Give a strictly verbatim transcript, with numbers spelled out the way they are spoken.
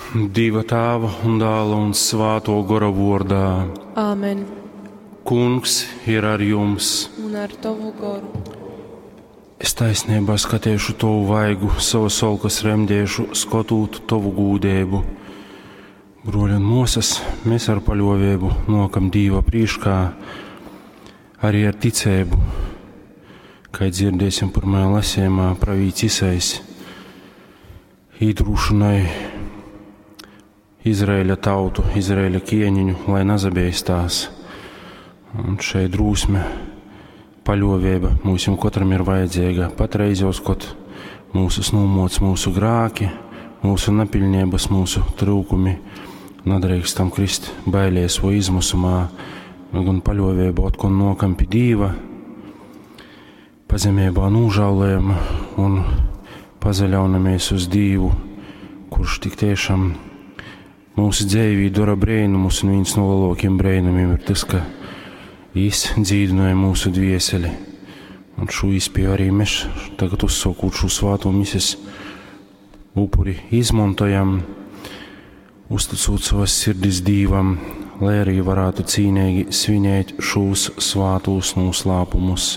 Dieva Tēva un Dēla un Svāto Gora vārdā. Āmen. Kungs ir ar jums. Un ar tavu goru. Es taisnībā skatēšu tavu vaigu, savas olkas remdēšu, skotūt tavu gūdēbu. Broļi un mosas, mēs ar paļovēbu nokam Dīva prīškā, arī ar ticēbu, kā dzirdēsim pirmajā lasījumā pravīts Isais, īdrūšanai Izraēļa tautu, Izraēļa ķieniņu, lai nazabeistās. Un šeit drūsme, paļovēba mūsim katram ir vajadzīga. Patreizos, kad mūsu nūmoc mūsu grāki, mūsu nepiļņības, mūsu trūkumi, nadrīkstam krist bailēs vai izmusumā, gan paļovēba otkon nokam pie Dīva, pazemībā nūžālējam un pazaļaunamies uz Dīvu, kurš tik tiešām mūsu dzīvī dara brēnumus, un viens no lielākiem brēnumiem ir tas, ka Jis dzīdināja mūsu dvieseli. Un šo iespēju arī mēs tagad uzsākot šo svāto mises upuri izmantojam, uzticot savas sirdis Dīvam, lai arī varētu cīnīgi svinēt šos svātos noslēpumus.